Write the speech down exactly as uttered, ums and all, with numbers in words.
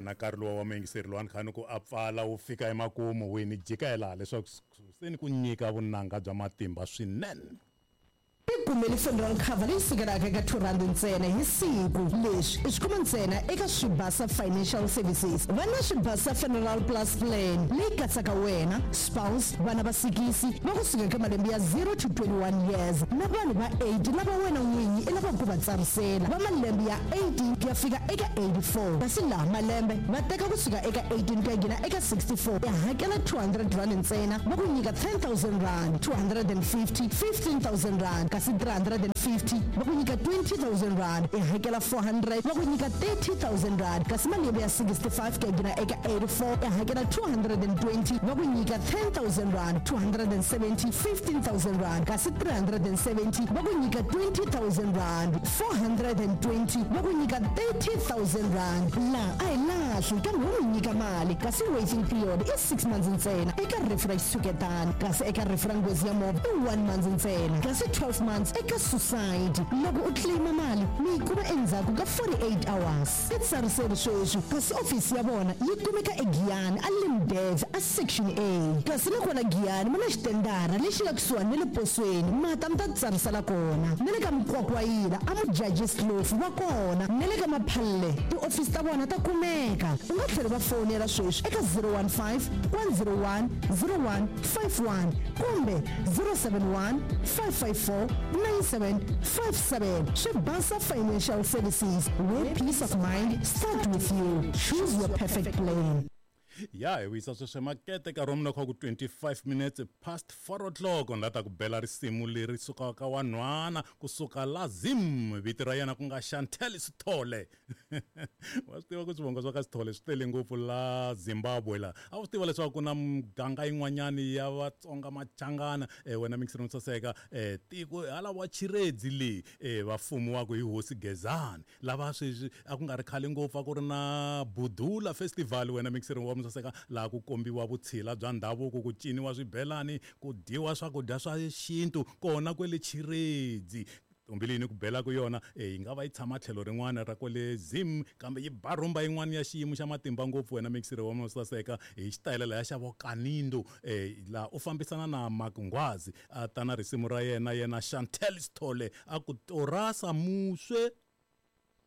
Wona nkarhi luwa wa muyingiseri luwani kha ni ku a pfala wu fika emakumu wini jika hi laha leswaku se ni ku nyika vunanga bya matimba swinene. Tikumeli funeral cover leyi sukelaka eka two rand ntsena hi siku. Leswi i swi kuma ntsena eka Swibasa Financial Services. Va na Swibasa Funeral Plus Plan leyi katsaka wena, spouse, vana va sikisi va kusuka eka malembe ya zero to twenty-one years na vanhu va eight lava wena n'winyi i lavaka ku va tsarisela va malembe ya eighteen ku ya fika eka eighty-four. Kasi laha malembe va teka kusuka eka eighteen ku ya nghena eka sixty-four, ya hakela two hundred rand ntsena va ku nyika ten thousand rand, two hundred and fifty, fifteen thousand rand, kasi three hundred and fifty va ku nyika twenty thousand rand, i hakela four hundred va ku nyika thirty thousand rand, kasi malembe ya sixty-five ku ya nghena eka eighty-four i hakela two hundred and twenty va ku nyika ten thousand rand, two hundred and seventy, fifteen thousand rand, kasi three hundred and seventy va ku nyika twenty thousand rand, four hundred and twenty va ku nyika thirty thousand rand. Laha a hi lahli kambe wo n'wi nyika mali, kasi waiting period i six months ntsena eka rifu ra xitshuketano, kasi eka rifu ra nghozi ya movha i one month ntsena, kasi twelve months eka suicide. Loko u claima mali mi yi kuma endzhaku ka forty-eight hours. I tsariseri sweswi, kasi ofisi ya vona yi kumeka eGiyani a Limdev a Section A, kasi nakona Giyani mi na xitendara lexi nga kusuhani na le posweni, mata mi ta tsarisela kona, na le ka Mkwakwayila a Mujajis Kloof va kona, na le ka Maphalle tiofisi ta vona ta kumeka. U nga tlhela va fonela sweswi eka zero one five, one zero one, zero one five one kumbe zero seven one, five five four, nine seven five seven. Swibasa Financial Services, where peace of mind start with you. Choose your perfect plan. Ya hi wisa sweswo makete ka romu na ku twenty-five minutes past four o'clock ni la ta ku bela risimu leri sukaka wa nhwana kusuka la Zim, vito ra yena ku nga Chantel Sithole. Wa swi tiva ku swivongo swa ka Sithole swi tele ngopfu la Zimbabwe la. A wu swi tiva leswaku ku na muganga yin'wanyani ya Vatsonga Machangana, eh, wena mixer no saseka, eh, tiko hala wa Chiredzi le, eh, va fumiwaka hi hosi Gezani lava sweswi a ku nga ri khale ngopfu a ku ri na Budula Festival, wena mixer wa saseka laha ku kombiwa vutshila bya ndhavuko, ku ciniwa swibelani, ku dyiwa swakudya swa xintu kona kwele Chiredzi. Ntombi leyi ni ku belaka yona, eh, yi nga va yi tshama tlhelo rin'wana ra kwale Zim, kambe yi ba rhumba yin'wana ya xiyimo xa matimba ngopfu, wena mixer wa saseka hi xitayele laya xa vo Kanindo, eh, laha u fambisana na Mark Nghwazi a ta na risimu ra yena yena Chantel Sithole a ku torasa muswe.